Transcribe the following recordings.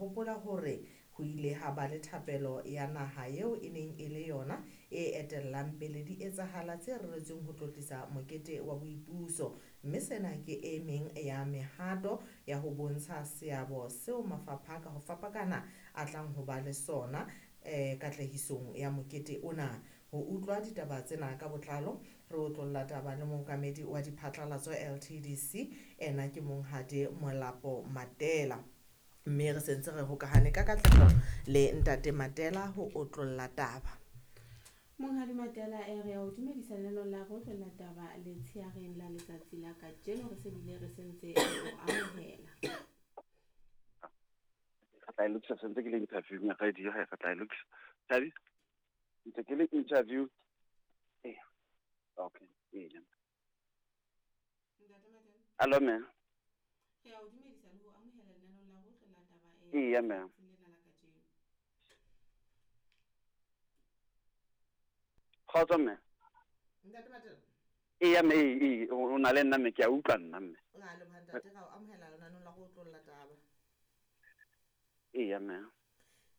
hopola hore ho ile ha ba le thapelo ya naha eo e neng e le yona e etellang pele di etsahala tse reretsweng ho tlotlisa mokete wa boipuso, mme sena ke e meng ya mehato ya ho bontsha seabo seo mafapha ka ho fapakana a tlang ho ba le sona katlehisong ya mokete ona. Ho utlwa ditaba tsena ka botlalo, re otlolla taba le mookamedi wa diphatlalatso LTDC, ena ke Monghadi Molapo Matela. Mme re sentse re hokahane ka katleho le Ntate Matela ho otlolla taba. Monghadi Matela, re a o dumedisa lenaneong la Re Otlolla Taba letsheareng la letsatsi la kajeno. Re se bile re sentse re o amohela. Re tla e lokisa sentse ke le interview ya radio, re tla e lokisa. Thabi, ntse ke le interview. Eh. Okay. Eh. Ntate Matela. Hello ma'am. Re a o dumedisa le ho amohela lenaneong la Re Otlolla Taba Eya ma'am. lena la kajeno. Kgotso ma'am. Ntate Matela. Eya mme, ee, o na le nna mme, ke a utlwa nna mme. O na leboha ntate, ra o amohela lenaneong la Re Otlolla Taba. Eya ma'am.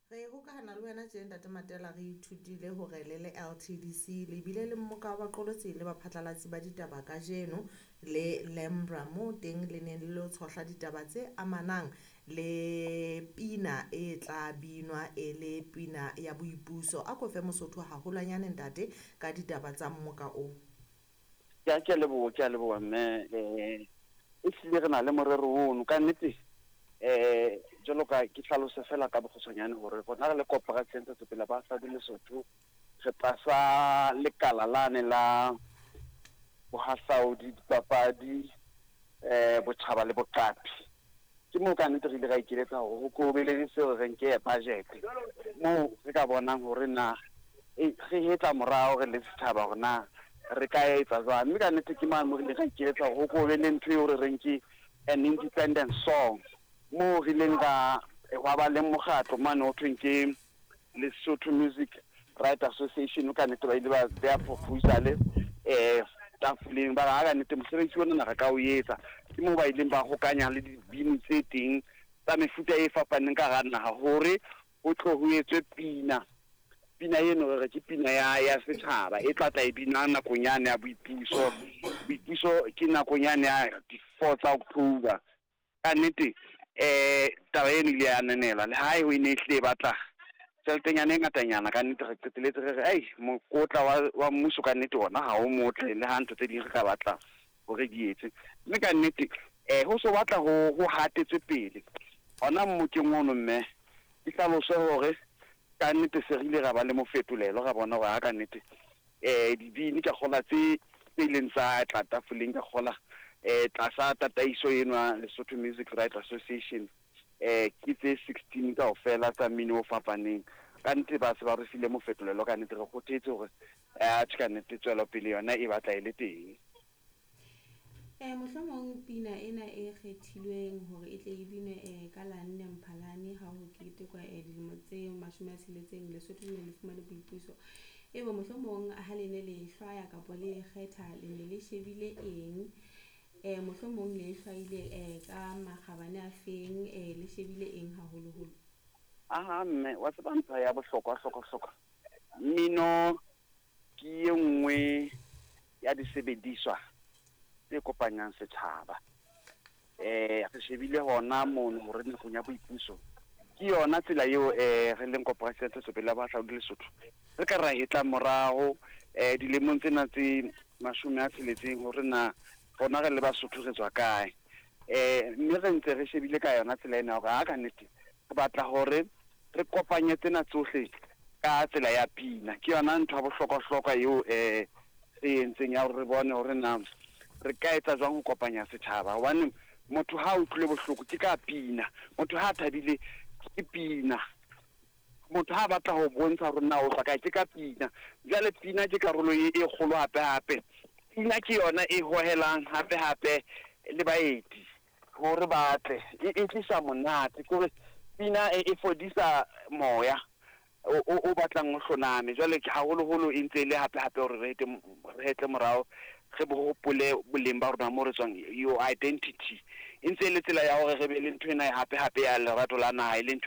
Re hokahana le wena tje Ntate Matela, re ithutile hore le le LTDC le bile le mmoka wa baqolotsi le baphatlalatsi ba ditaba kajeno le Lembra, moo teng le neng le lo tshohla ditaba tse amanang le pina e tla binwa e le pina ya boipuso. A ko fe Mosotho haholwanyane ntate ka ditaba tsa mmoka o. Ke a leboha, ke a leboha mme, e hlile re na le morero ono ka nnete. Jwalo ka ke hlalose fela ka bokgutshwanyane hore rona re le Koporasi ya Ntshetsopele ya Bohahlaudi Lesotho re tlasa lekala lane la bohahlaudi, dipapadi, botjhaba le boqapi. Ke moo ka nnete re ile ra ikeletsa hore ho ko be le seo re nke budget moo re ka bonang hore na re hetla morao re le setjhaba hore na re ka etsa jwang. Mme ka nnete ke mane moo re ile ra ikeletsa hore ho ko be le ntho eo re reng ke an independent song, moo re ileng ra hwa ba le mokgatlo mane ho thweng ke Lesotho Music Right Association. Ka nnete ba ile ba beha proposal tafoleng, ba re ha ka nnete mosebetsi ona re ka o etsa. Ke moo ba ileng ba hokanya le dibini tse teng tsa mefuta e fapaneng ka hara naha hore ho tlo ho etswe pina. Pina eno re re ke pina ya setjhaba e tla tla e bina nakong yane ya boipuso. Boipuso ke nakong yane ya di-4 tsa October. Ka nnete taba eno ile ya ananelwa, le ha e ne e hlile e batla tjheletenyana e ngatanyana. Ka nnete re qeteletse re re ai mokotla wa mmuso ka nnete ona ha o motle, le ha ntho tse ding re ka batla hore di etse. Mme ka nnete ho so batla ho hatetswe pele hona mmokeng ono mme ke hlalose hore ka nnete se re ile ra ba le mofetolelo, ra bona hore ha ka nnete dibini ka kgola tse ileng tsa tla tafoleng ka kgola tlasa tataiso eno ya Lesotho Music Right Association, ke tse 16 kaofela tsa mmino o fapaneng. Ka nnete ba se ba re file mofetolelo, ka nnete re kgothetse hore atjhe ka nnete tswelopele yona e batla e le teng. Mohlomong pina ena e kgethilweng hore e tle e binwe ka la nne Mphalane ha ho ketekwa dilemo tse 60 Lesotho le ne le fumane boipuso. Ebe mohlomong ha le ne le hlwaya kapa le kgetha le ne le shebile eng? Mohlomong le hlwaile ka makgabane a feng, le shebile eng haholoholo? Aha mme, wa tseba ntho ya bohlokwa hlokwa hlokwa. Mmino ke e nngwe ya disebediswa tse kopanyang setjhaba. Re shebile hona mono hore nakong ya boipuso ke yona tsela eo re leng Koporasi ya Ntshetsopele ya Bohahlaudi Lesotho re ka ra hetla morao dilemong tsena tse 60 hore na rona re le Basotho re tswa kae. Mme re ntse re shebile ka yona tsela ena hore ha ka nnete re batla hore re kopanye tsena tsohle ka tsela ya pina. Ke yona ntho ya bohlokwa-hlokwa eo re entseng ya hore re bone hore na re ka etsa jwang ho kopanya setjhaba. Hobane motho ha a utlwile bohloko ke ka pina, motho ha a thabile ke pina, motho ha batla ho bontsha hore na o tswa kae ke ka pina. Jwale pina ke karolo e kgolo hape hape. Pina ke yona e hohelang hape hape le baeti hore ba tle, e tlisa monate. Ke hore pina e fodisa moya o batlang o hloname. Jwale ke haholoholo e ntse e le hape hape hore re hetle morao, re hopole boleng ba rona mo re tswang, your identity. E ntse e le tsela ya hore re be le ntho ena hape hape ya lerato la naha, e le ntho